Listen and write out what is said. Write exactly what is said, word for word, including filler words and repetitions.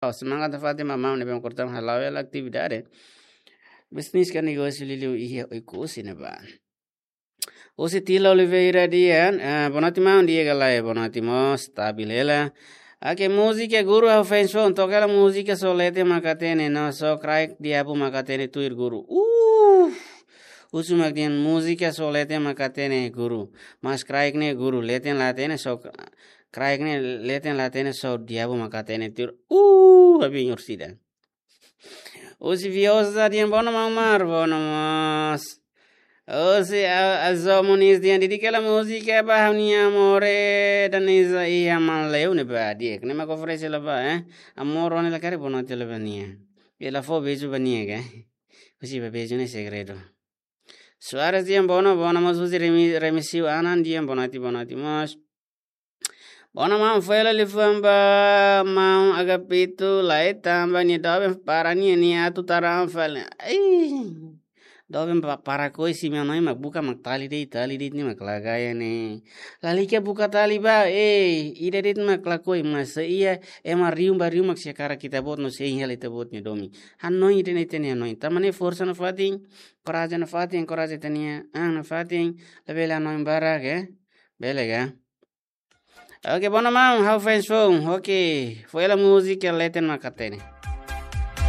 Semangat nafatin ba maun ne'ebé mak kortan hala'o hela atividade. Bisnis ka negósiu liuliu iha Oekusi ne'ebá. Husi Tila Oliveira dehan, ah, boa noite maun, di'ak ka lae, boa noite mós, stabil hela. Oke, múzika guru, ha'u fans foun, toka hela múzika Só Leten Mak Hatene, no Só Kraik Diabu Mak Hatene tuir guru. Uh! Husu mak dehan múzika Só Leten Mak Hatene guru. Mas kraik ne'e guru, leten la hatene só kra-, kraik ne'e leten la hatene só diabu mak hatene tuir. Uh, abin ursida. Husi Viosa dehan boa noite maun Omar, boa noite mós. Husi a, Azo Moniz dehan dedika hela múzika ba ha'u-nia amore Danisa iha Manleu ne'ebá di'ak. Ne'e mak oferese hela ba, eh. Amor rone la kare boa noite hela ba nia. Bele fó beizu ba nia, ke? Husi ba beizu ne'e segredu. Soares dehan boa noite, boa noite mós husi Remi-, Remisiu Anan dehan boa noite, boa noite mós. Boa noite maun, fó hela liafuan ba maun Agapito, lae tanba nia doben para nia, nia atu tara an fali. Ai. Doben pa-, para koi, se imi hanoin mak buka mak tali de'it, tali de'it ne'e mak la gaya ne'e. Lalika buka tali ba, ei, ida de'it mak lakohi, mas se iha ema riun ba riun mak sei hakarak ita-boot no sei hein hela ita-boot nia domin. Hanoin ida-ne'e ita-nia hanoin. Tanba ne'e forsa nafatin, korajen nafatin, korajen ita-nia an nafatin, labele hanoin barak, eh? Bele ka? Oke, boa noite maun, ha'u fans foun. Oke, fó hela múzika Leten Mak Hatene.